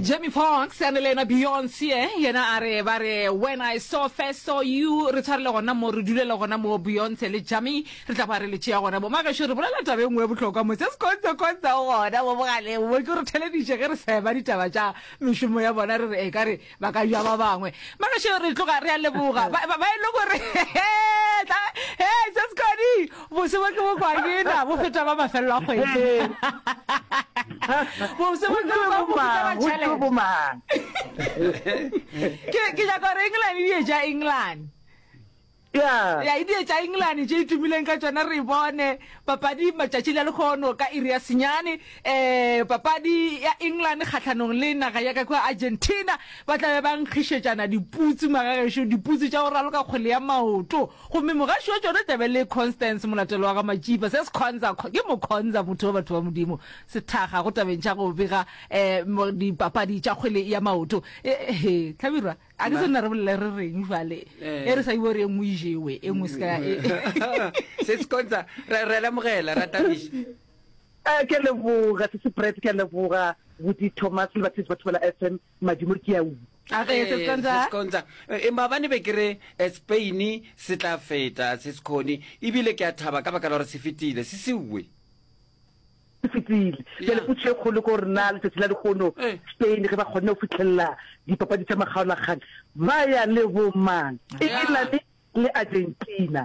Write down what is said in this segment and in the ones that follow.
Jamie Foxx a ne le yena Beyonce yena a re ba re when I saw first saw you re tshwarele gona mo re dulele gona mo Beyonce le Jamie re tla ba re le tšea gona mo magešo re bolela taba e nngwe ya bohlokwa mo se se kontswe kontswe o gona mo mogaleng mo ke re theleditše ge re seba ditaba tša mešomo ya bona re re e ka re ba ka ja ba bangwe magešo re tloga re a leboga ba ba e le gore he se se kodi bose bo ke bo kwa ke na bo feta ba mafelelo a kgwedi bose bo ke bo bo feta ba tšhelete ke ke nyaka gore England di etša England Ya. Ya, e die tša Engelane tše e tumileng ka tšona re bone papadi matšatši la lekgono ka iri ya senyane. Um papadi ya England kgahlanong le naga ya ka kua Argentina, ba tla be ba nkgišetšana diputsu magagešo, diputsu tša go raloka kgwele ya maoto. Gomme mogaši wa tšona tla be le Constance Molatelo wa ga Matšipa, se sekhonza, ke mokhonza motho wa batho ba Modimo, sethakga go tabeng tša go bega um dipapadi tša kgwele ya maoto. He, Hlabirwa. A ke sonna re bolele re reng jwale eh. e re sa ibo re e nngwe e jewe e nngwe se ka e. Se se konsa re re lemogela ra tabiša. Eh ke leboga se se Brett ke leboga Buti Thomas le batho ba Thobela FM madimo ke a u. A ge se se konsa. E maabane be ke re eh, Spain se tla feta se se khone ebile ke a thaba ka baka la gore se fetile se se uwe. Se fetile. Bjale potšišo e kgolo ke gore na letšatši la lehono Spain ge ba kgonne go fihlelela dipapadi tša makgaolakgang ba ya le bomang? Engelane le Argentina.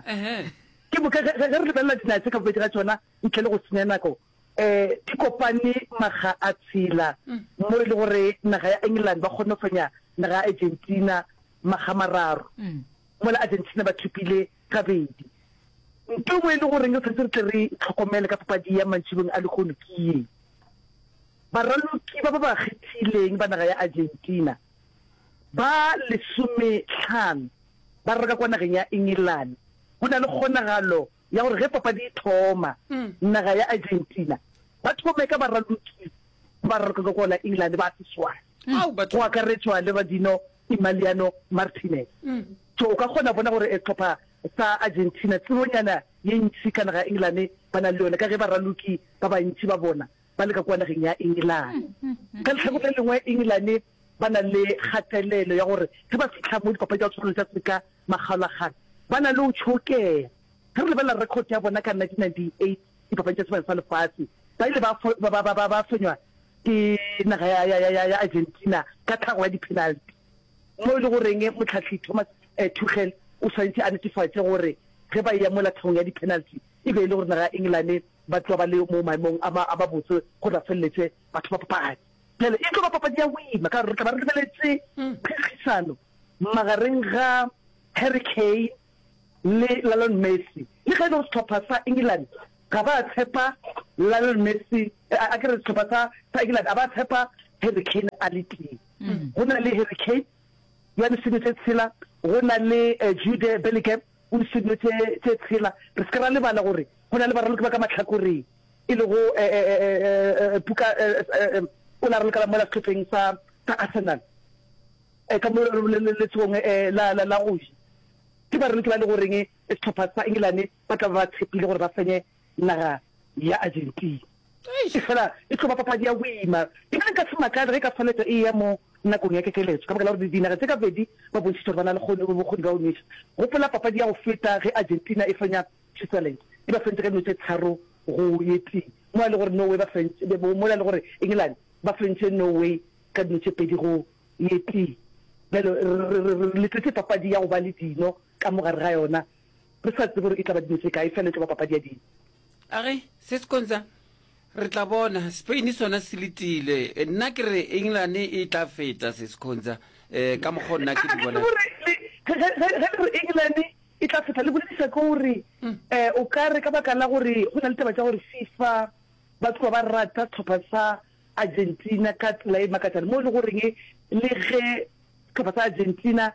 Ke moka ge re lebelela dinaga tše ka bobedi ga tšona ntle le go senya nako, um di kopane makga a tshela mo e le gore naga ya England ba kgonne go fenya naga ya Argentina makga a mararo, mola Argentina ba thopile gabedi. Nto e nngwe e le goreng re tshwanetse re tle re hlokomele ka papadi ya mantšibong a lehono ke ye, Baraloki ba ba ba kgethileng ba naga ya Argentina ba lesomehlano ba raloka kwa nageng ya Engelane. Go na le kgonagalo ya gore ge papadi e thoma, naga ya Argentina ba thome ka baraloki ba ba raloka ka kwa la Engelane ba seswai, go akaretšwa le Radino Emiliano Martinez. So o ka kgona bona gore sehlopha sa Argentina tsebonyana ye ntši ka naga ya Engelane ba na le yona ka ge baraloki ba bantši ba bona ba le ka kua nageng ya Engelane. Ka lehlakore le lengwe Engelane ba na le kgatelelo ya gore ge ba fihla mo dipapadi tša go tshwana le tša seka makgaolakgang ba na le go tšhokega. Ge re lebelela record ya bona ka 1998 dipapadi tša sebaka sa lefase ba ile ba ba ba ba fenywa ke naga ya ya ya ya Argentina ka tlhago ya di-penalty. Mo e le goreng mohlahli Thomas Tuchel o swanetše a netefatše gore ge ba eya mola tlhagong ya di-penalty e be e le gore naga ya Engelane ba tloga ba le mo maemong a a mabotse gore ba feleletše batho ba papadi. Bjale e tlo ba papadi ya boima ka gore re tla ba re lebeletše phekgisano magareng ga Harry Kane le Lionel Messi. Le ge e le gore sehlopha sa England ga ba tshepa Lionel Messi, a ke re sehlopha sa sa England a ba tshepa Harry Kane a le tee. Go na le Harry Kane yo a disenyo tše tshela, go na le Jude Bellingham o disenyo tše tše tshela. Re se ke ra lebala gore go na le baraloki ba ka mahlakoreng e lego Puka o la ralokela mola sehlopheng sa sa Arsenal ka mo letsogong la la go ja. Ke baraloki ba e le goreng sehlopha sa Engelane ba tla ba ba tshepile gore ba fenye naga ya Argentina. Efela e tlo ba papadi ya boima. Ebile nka se makale ge e ka feletša e eya mo nakong ya kekeletšo ka baka la gore dinaga tše ka bobedi ba bontšhitše gore ba na le bokgoni bja go nweša. Gopola papadi ya go feta ge Argentina e fenya Switzerland, e ba fentše ka dino tše tharo go ye tee, mola e le gore Norway ba fentše, mola e le gore England ba fentše Norway ka dino tše pedi go ye tee. Bjale re, re, re letetše papadi ya go ba le dino ka mo gare ga yona. Re sa tsebe gore e tla ba dino tše kae, fela e tlo ba papadi ya dino. A re, Se Skonza, re tla bona. Spain sona se letile. Nna ke re England e tla feta, Se Skonza, eh, ka mokgwa o nna ke di bona. Ge ge ge le re England e tla feta, le boledisa ke gore eh, o ka re ka baka la gore go na le taba tša gore FIFA ba tloga ba rata sehlopha sa Argentina ka tsela e makatšang, mo e le goreng le ge sehlopha sa Argentina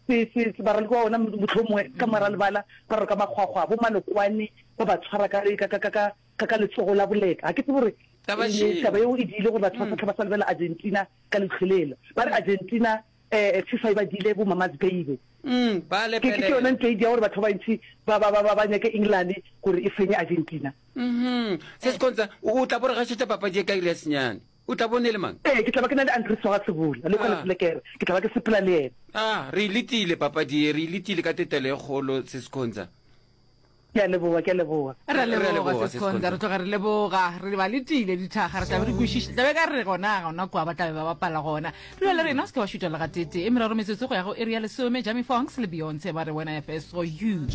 Se, se, se baraloki ba bona mohlomongwe ka mora lebala ba raloka makgwakgwa, bo malokwane ba ba tshwara ka, ka, ka, ka, ka, ka, ka letsogo la boleta. Ga ke tsebe gore Taba e, šeo. taba yeo e diile gore batho ba sa hlwa ba sa lebelela Argentina ka lehlolelo. Ba re Argentina, eh, FIFA e ba diile bo mama's baby. Mm, ba Ke, ke, ke yona lepelela. ntho e dia gore batho ba bantši ba, ba, ba, ba, ba nyake England gore e fenye Argentina. Mhm. Se Skonza, o, o tla bo re gašetša papadi ye ka iri ya senyane. O tla bone le mang? Ee, ke tla ba ke na le Andries wa ga Sebola, le kwa Ah. Leselekere. Ke tla ba ke sepela le yena. Ah, re e letile papadi ye, re e letile ka tetelo e kgolo, Seskhonza. Ke a leboga, ke a leboga. Re a Re a leboga, leboga, Seskhonza. Seskhonza. Re tloga re leboga. Re ba letile dithaga, re tla be re kwešiša. Tla be ka re gona, gona kwa ba tla be ba bapala gona. Dula le rena, o se ke wa šutha le gateetee. E meraro metsotso go ya go iri ya lesome, Jamie Foxx le Beyonce ba re When I First Saw You.